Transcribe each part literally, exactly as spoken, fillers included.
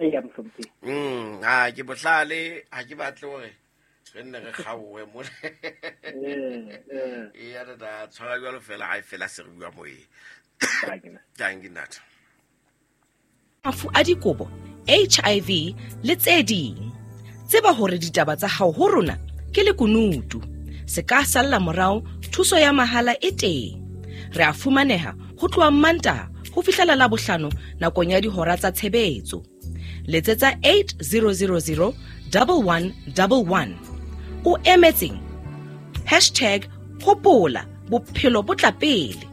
Eya mohlomphehi. Mm, ha ke bohlale, ha ke batle hore re nne re kgaohe mona. Eh, eh. Eya tata, tshwara jwalo fela ha e fela se re bua moyeng. Thank you, ntate. Mafu a dikobo, H I V le tse ding. Tseba hore ditaba tsa hao ho rona ke lekunutu. Se ka salla morao, thuso ya mahala e teng. Re a fumaneha ho tloha Mantaha ho fihlela Labohlano nakong ya dihora tsa tshebetso. Letsetsa eight zero zero zero double one double one. O emetseng? Hashtag hopola bophelo bo tla pele.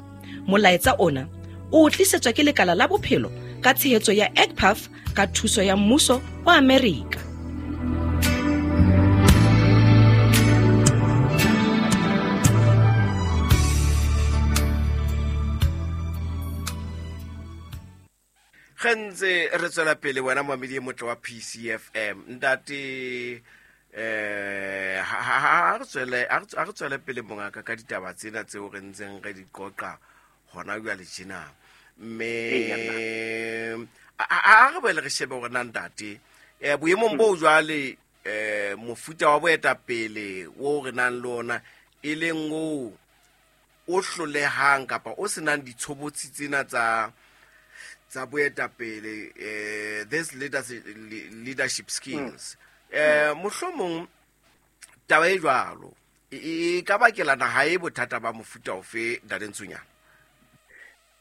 Molaetsa ona o tlisetswa ke lekala la bophelo ka tshehetso ya E C P A F ka thuso ya mmuso wa Amerika. Ge ntse re tswela pele wena moamedi e motle wa P C F M, ntate, eh, ha, ha, ha re tswele, ha re tswe-, ha re tswele pele mongaka ka ditaba tsena tseo re ntseng re di qoqa hona jwale tjena. Mme, a, a, a re boele re shebe hore na ntate, eh, boemong bo jwale, eh, mofuta wa boetapele o re nang le ona e leng o, o hlolehang kapa o senang ditshobotsi tsena tsa, tsa boetapele, eh, this leadership, leadership skills. Mm. Eh, mohlomong taba e jwalo e, e, e ka bakela naha e bothata ba mofuta ofe, Ntate Ntsunyana?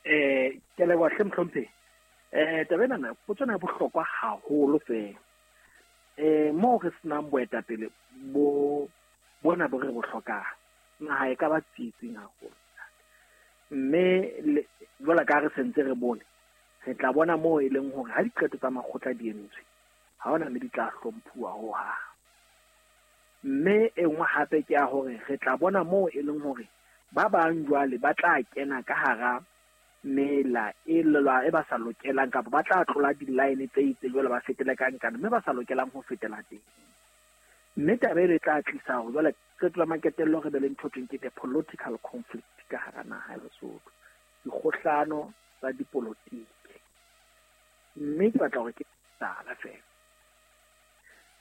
Eh, ke leboha hle mohlomphehi. Eh, taba ena na, potso ena e bohlokwa haholo fela. Eh, moo re senang boetapele bo, bona bo re bo hlokang, naha e ka ba tsietsing haholo. Mme le, jwalo ka ha re sentse re bone, re tla bona moo e leng hore ha diqeto tsa makgotla di entswe, ha hona mme di tla hlomphuwa hohang. Mme e nngwe hape ke ya hore re tla bona moo e leng hore ba bang jwale ba tla kena ka hara mela e lelwa e ba sa lokelang, kapa ba tla tlola di-line tse itseng jwale ba fetele ka nkane, mme ba sa lokelang ho fetela teng. Mme taba e tla tlisa hore jwale qeto la maketello re be le ntho thweng ke the political conflict ka hara naha ya Lesotho, dikgohlano tsa dipolotiki. Mme ke batla hore ke tala fela.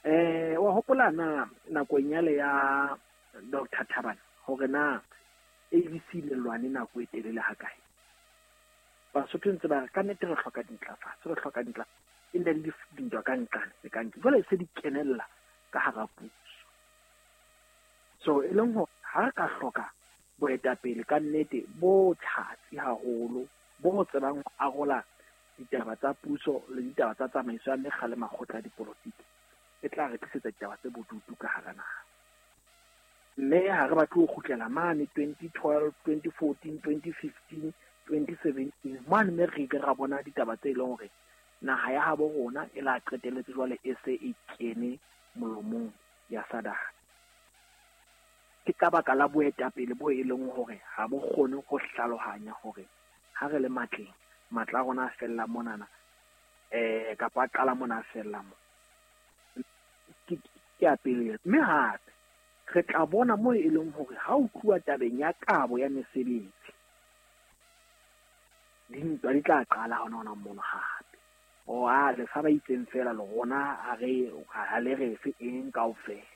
Eh, wa hopola na nakong yale ya Doctor Thabane hore na A B C le lwane nako e telele hakae? Basotho ntse ba re ka nnete re hloka dintlafatso, re hloka dintlafatso. E ne le dintwa ka nqane le ka nqane. Jwale se di kenella ka hara puso. So e leng hore ha re ka hloka boetapele ka nnete bo tjhatsi haholo, bo tsebang ho arola ditaba tsa puso le ditaba tsa tsamaiso ya mekga le makgotla a dipolotiki, e tla re tlisetsa ditaba tse bodutu ka hara naha. Mme ha re batle ho kgutlela mane twenty twelve, twenty fourteen, twenty fifteen, twenty seventeen, mane mme re ile ra bona ditaba tse leng hore naha ya habo rona e la qetelletse jwale e se e kene molomong ya SADC. Ke ka baka la boetapele bo e leng hore ha bo kgone ho hlalohanya hore ha re le matleng, matla a rona a fella monana, eh, kapa a qala mona a fella mo. Ke, ke ya pele. Mme hape re tla bona moo e leng hore ha o tluwa tabeng ya kabo ya mesebetsi, dintwa di tla qala hona hona mono hape. O a le fa ba itseng fela le rona ha re, ha le re fe eng kaofela.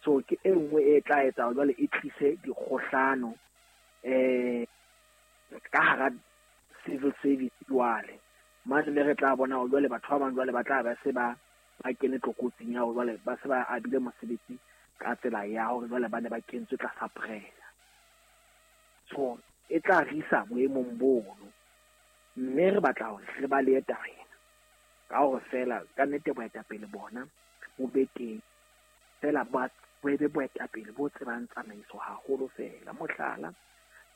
So ke e nngwe e tla etsa hore jwale e tlise dikgohlano, eh, ka hara civil service jwale. Mane mme re tla bona hore jwale batho ba bang jwale ba tla ba se ba, ba kene tlokotsing ya hore jwale ba se ba abile mosebetsi ka tsela ya hore jwale ba ne ba kentswe tlasa pressure. So e tla re isa boemong bono. Mme re batla hore re balehe taba ena. Ka hore feela ka nnete boetapele bona bo be teng. Feela ba, bo be boetapele bo tsebang tsamaiso haholo feela. Mohlala,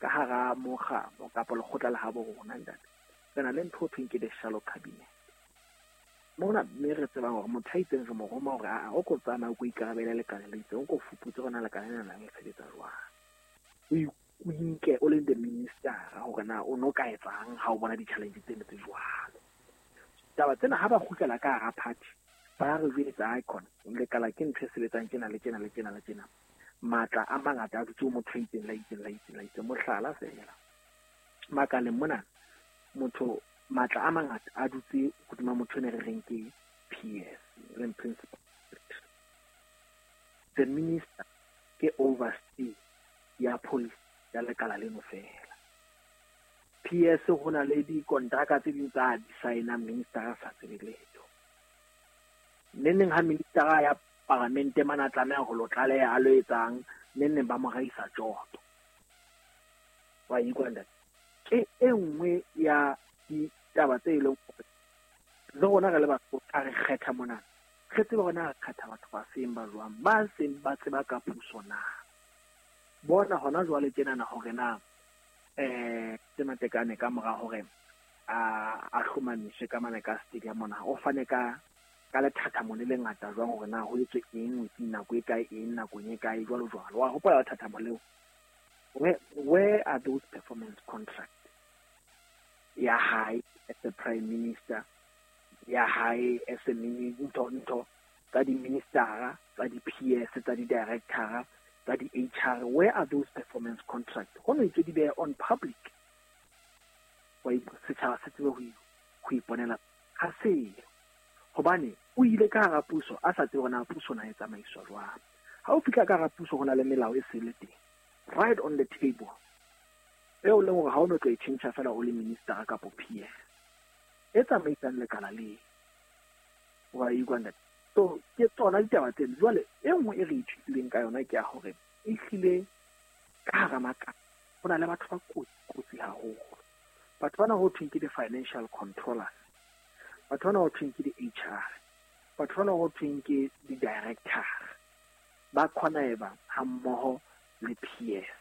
ka hara mokga kapa lekgotla la habo rona ntate, re na le ntho e thweng ke the shallow cabinet. Mona mme re tsebang hore motho a itseng re mo roma hore aa, o ko tsamaya o ko ikarabele lekaleng le itseng, o ko fuputse hore na lekala lena la sebetsa jwang. O i-, o inke o le the minister hore na o no ka etsang ha o bona di-challenge tsena tse jwalo. Taba tsena ha ba kgutlela ka hara party, ba re jwetsa icon, lekala ke ntho e sebetsang tjena le tjena le tjena le tjena. Matla a mangata a dutse ho motho a itseng, la itseng, la itseng, la itseng. Mohlala feela, makaleng mona, motho Matla a mangata a dutse hodima motho ene re reng ke P S, leng principal. The minister ke oversee ya policy ya lekala leno fela. P S ho na le dikontraka tse ding tsa di sign-a minister a sa tsebe letho. Neneng ha minister ya paramente mana tlameha ho lo tlaleha a lo etsang, neneng ba mo raisa tjoto. Wa ikwa ntate. Ke e nngwe ya ditaba tse leng hore le rona re le batho a re kgetha mona. Re tsebe hore na re kgetha batho ba seng ba jwang, ba seng ba tseba ka puso na. Bona hona jwale tjenana hore na eh Matekane ka mora hore a a hlomamiswe ka mane ka stadium mona, o fane ka ka lethathamo le lengata jwang hore na ho etswe eng, nako e kae, eng nakong e kae, jwalo jwalo. Wa hopola lethathamo leo? Where, where are those performance contracts? Ya hae as the prime minister, ya hae as a minister, ntho ntho tsa di-ministera, tsa di-P S, tsa di-directora, tsa di-H R. Where are those performance contracts? Ho no itse di be on public. Wa setjhaba se tsebe ho ho iponela ha se. Hobane o ile ka hara puso a sa tsebe hore na puso na e tsamaiswa jwang. Ha o fihla ka hara puso ho na le melao e sele teng. Right on the table. Eo leng hore ha o no tlo e tjhentjha fela o le minister kapa P S. E tsamaisang lekala le. Wa ikwa ntate. So ke tsona ditaba tseno. Jwale e nngwe e re ithutileng ka yona ke ya hore e hlile ka hara makala ho na le batho ba kotsi kotsi haholo. Batho bana ho thweng ke di-financial controllers, batho bana ho thweng ke di-H R, batho bana ho thweng ke di-director, ba connive ha mmoho le P S.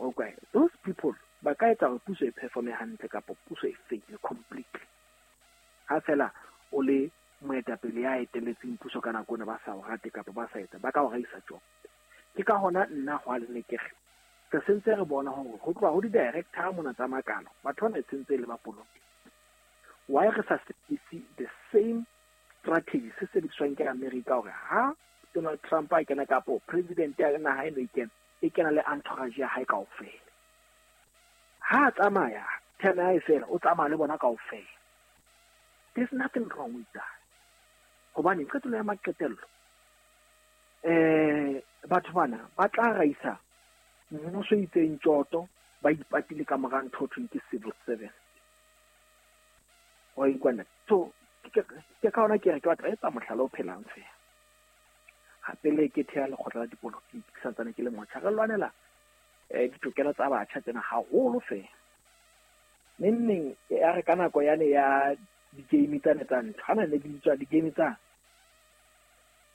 Okay, those people ba ka etsa hore puso e performe hantle kapa puso e fail completely. Ha fela o le moetapele ya etelletseng puso ka nako ena ba sa o rate kapa ba sa etsa, ba ka o raisa tjong. Ke ka hona nna hwa le ne ke re re sentse re bona hore ho tloha ho di-director mona tsa makala, batho bana e sentse le ba polotiki. Why re sa sebedise the same strategy se sebediswang ke America hore ha Donald Trump a kena kapo president ya naha eno e kena, e kena le entourage ya hae kaofela. Ha a tsamaya, term ya hae fela, o tsamaya le bona kaofela. There's nothing wrong with that. Hobane qetelo ya maqetello, eh batho bana ba tla raisa mmuso itseng tjoto, ba ipatile ka mora ntho thweng ke civil service. Wa ikwana. So ke ke ka hona ke re ke batla etsa mohlala o phelang fela. Hape le ke thea lekgotla la dipolotiki ke santsane ke le motjha, re lwanela eh ditokelo tsa batjha tsena haholo fela. Neng ya re ka nako yane ya di-game tsane tsa ntho, ha ne di tswa di-game tsa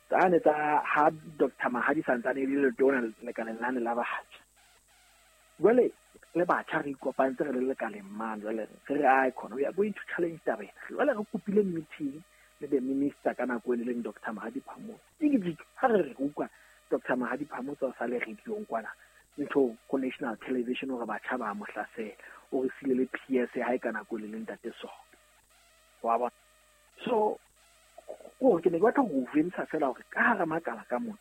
tsane tsa ha Doctor Mahadi santsane e le letona lekaleng lane la batjha. Jwale le batjha re ikopantse re le lekaleng mane, jwale re re ai khona we are going to challenge taba ena. Jwale re kopile meeting le the minister ka nako e leng Doctor Mahadi Phamotse. Ke ha re re utlwa Doctor Mahadi Phamotse o sa le radio kwana ntho ko national television hore batjha ba mo hlasela, o re sile le P S ha e ka nako le leng ntate so. Wa bona. So ko ke ne ke batla ho ventsha fela hore ka hara makala ka mona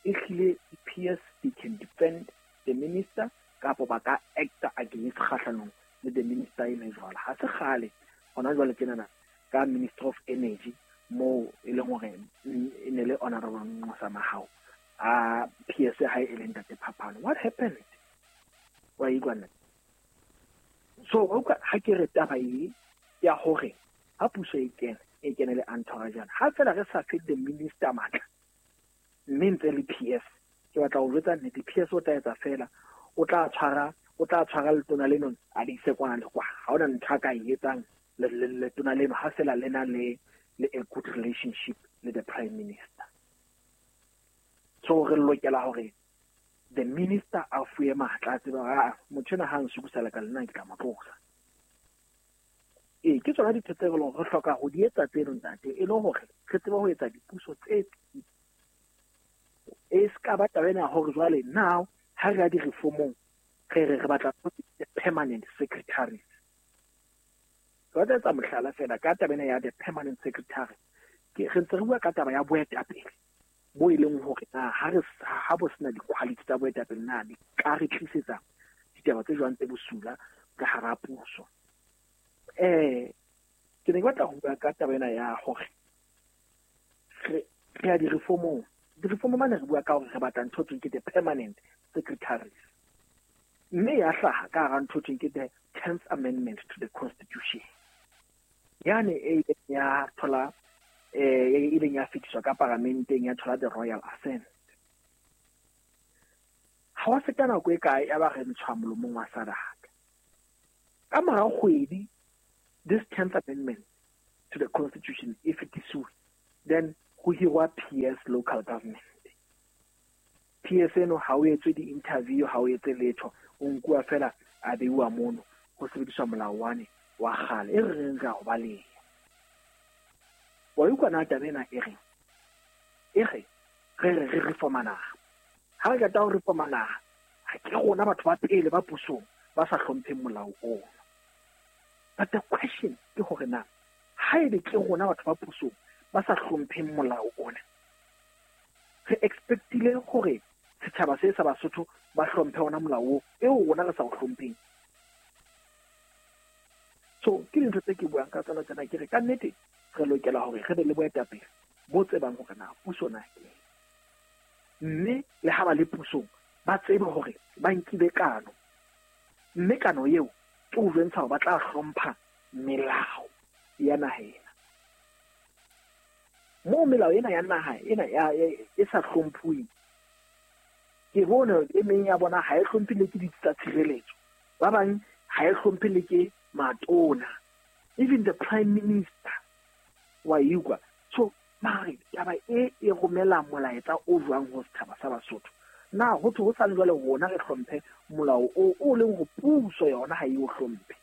e hlile P S they can defend the minister kapo ba ka act against kgahlanong le the minister e leng jwalo. Ha se kgale hona jwale tjenana ka Minister of Energy mo e leng hore e ne le Honorable Nqosa Mahao a P S ha e leng ntate Phapano. What happened? Wa ikwana. So ha ke re taba e ya hore ha puso e kena e kene le entourage, ha fela re sa fe the minister matla mme ntse le P S, ke batla ho jwetsa nnete, P S o tla etsa fela, o tla tshwara o tla tshwara letona leno a le ise kwana le kwa. Ha hona ntho a ka e etsang letona leno ha fela le na le le a good relationship le the prime minister. So re lokela hore the minister a fuwe matla a tsebe hore a motho ena ha nsukusa lekala lena ke tla mo tlosa. Ee, ke tsona dintho tse re leng re hloka ho di etsa tseno ntate, e le hore re tsebe ho etsa dipuso tse e ska ba taba ena hore jwale now ha re ya di-reformong re re re batla permanent secretaries. Ke batla etsa mohlala fela ka taba ena ya the permanent secretary. Ke re ntse re bua ka taba ya boetapele bo e leng hore na ha re ha bo sena di-quality tsa boetapele na di ka re tlisetsa ditaba tse jwang tse bosula ka hara puso. Eh ke ne ke batla ho bua ka taba ena ya hore re re ya di-reformong. Di-reform mane re bua ka hore re batla ntho tse ke the permanent secretaries. Mme ya hlaha ka hara ntho tse ke the tenth amendment to the constitution. Yane e ileng ya thola eh e ileng ya fetiswa ka paramenteng ya thola the royal assent. Ha wa feta nako e kae ya ba re ntshwa molomong wa sadaka. Ka mora kgwedi this tenth amendment to the constitution e fetisiwe, then ho hirwa P S local government. P S eno ha o etswe di-interview, ha o etse letho, o nkuwa fela a beiwa mono ho sebediswa molao wane wa kgale e re reng re a o baleha. Wa utlwa na taba ena e reng? E re re re re reforma naha. Ha re qeta ho reforma naha, ha ke rona batho ba pele ba pusong ba sa hlompheng molao ono. But the question ke hore na haebe ke rona batho ba pusong ba sa hlompheng molao ona, re expectile hore setjhaba se sa Basotho ba hlomphe ona molao oo eo rona re sa o hlompheng. So ke dintho tse ke buang ka tsona tsena, ke re ka nnete re lokela hore re be le boetapele bo tsebang hore na puso na ke eng, mme le ha ba le pusong ba tsebe hore ba nkile kano, mme kano eo ke ho jwentsha hore ba tla hlompha melao ya naha ena. Moo melao ena ya naha ena ya e sa hlomphuweng, ke bone e meng ya bona ha e hlomphe le ke ditsi tsa tshireletso, ba bang ha e hlomphe le ke matona, even the prime minister wa ikwa. So mare taba e e romela molaetsa o jwang ho setjhaba sa Basotho? Na ho thwe ho sale jwale rona re hlomphe molao o o leng ho puso yona ha e o hlomphe?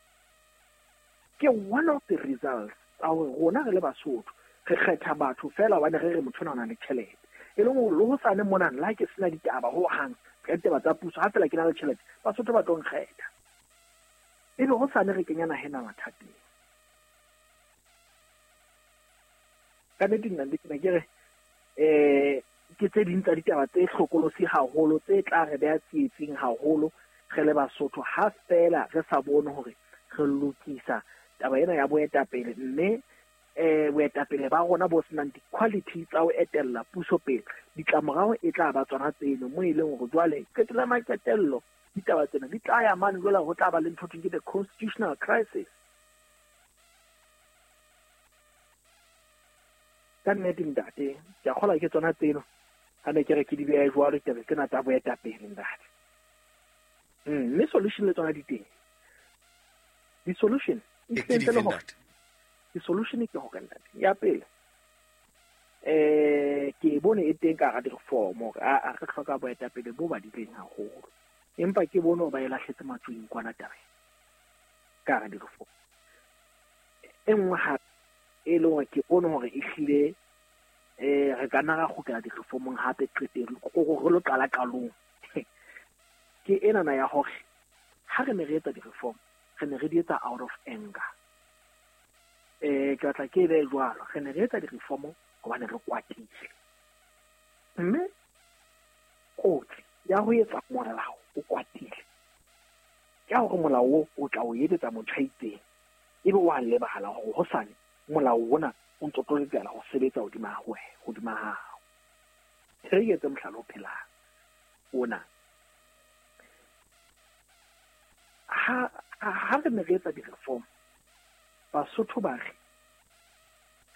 Ke one of the results tsa hore rona re le Basotho re kgetha batho fela hobane re re motho ona o na le tjhelete, e leng hore le ho sane mona le ha ke sena ditaba ho hang ka ditaba tsa puso, ha fela ke na le tjhelete Basotho ba tlo nkgetha, ebe ho sane re kenya naha ena mathateng. Ka nnete nna ke ne ke re eh ke tse ding tsa ditaba tse hlokolosi haholo tse tla re beha tsietsing haholo re le Basotho, ha fela re sa bone hore re lokisa taba ena ya boetapele, mme eh boetapele ba rona bo senang di-quality tsa ho etella puso pele, ditlamorao e tla ba tsona tseno mo e leng hore jwale qetella maqetello ditaba tsena di tla ya mane jwale ho tla ba le ntho ke the constitutional crisis. Ka nnete ntate, ke a kgolwa ke tsona tseno ha ne ke re ke di beha jwalo ditaba tsena tsa boetapele ntate. Mm, mme solution le tsona di teng. Di-solution E ke dife ntate? Di-solution ke hore ntate, ya pele eh ke bone e teng ka hara di-reform hore a re hloka boetapele bo badileng haholo, empa ke bone hore ba e lahletse matswing kwana tabeng ka hara di-reform. E nngwe hape e leng hore ke bone hore ehlile eh re ka nna ra kgutlela di-reformong hape qetellong, re lo qala qalong, ke enana ya hore ha re ne re etsa di-reform re ne re di etsa out of anger. Eh ke batla ke e behe jwalo, re ne re etsa di-reform hobane re kwatile, mme kotsi ya ho etsa molao o kwatile ke ya hore molao oo o tla o etsetsa motho a itseng, ebe wa lebala hore hosane molao ona o ntso tlo lokela ho sebetsa hodima hao, hodima hao. Re etse mohlala o phelang ona. Ha ha re ne re etsa di-reform, Basotho ba re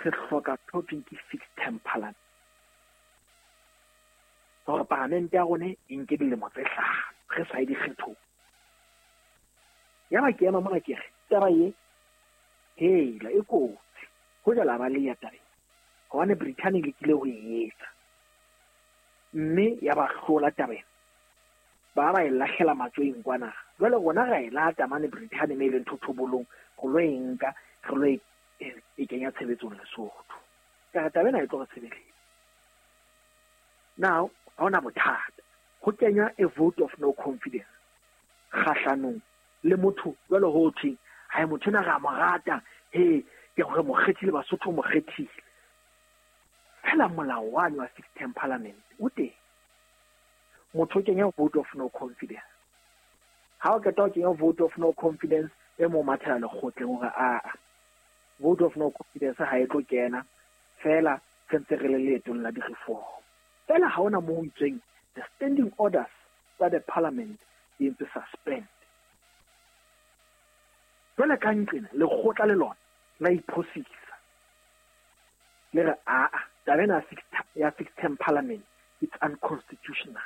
re hloka ntho ke fixed term parliament, hore paramente ya rona e nke dilemo tse hlano re sa ye dikgethong. Yaba ke ema mona ke re taba e hela e kotsi ho jala ba le ya tabeng, hobane Britain e lekile ho e etsa mme ya ba hlola tabeng, ba ba e lahlela matsweng kwana. Jwale rona ra e lata mane Britain me e leng thothobolong ho lo e nka re lo e e kenya tshebetsong Lesotho. Ka re taba ena e tlo re sebeletsa. Now ha hona bothata ho kenywa a vote of no confidence kgahlanong le motho jwale ho thweng ha motho ena re a mo rata, he ke hore mo kgethile Basotho mo kgethile. Fela molao wane wa fixed term parliament o teng, motho o kenya vote of no confidence. Ha o qeta ho kenya vote of no confidence, E mong mathela lekgotleng hore aa vote of no confidence ha e tlo kena fela re ntse re le leetong la di-reform. Fela ha hona moo ho itsweng the standing orders tsa the parliament di entswe suspend. Jwale ka nqena lekgotla le lona la iphosisa, le re aa taba ena ya fixed term parliament, it's unconstitutional.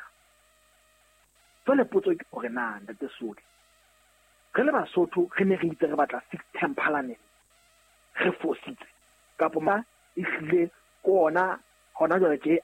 Jwale potso ke hore na, ntate Soli, re le Basotho re ne re itse re batla fixed term parliament, re fositse kapo ma ehlile ke ona hona jwale tje?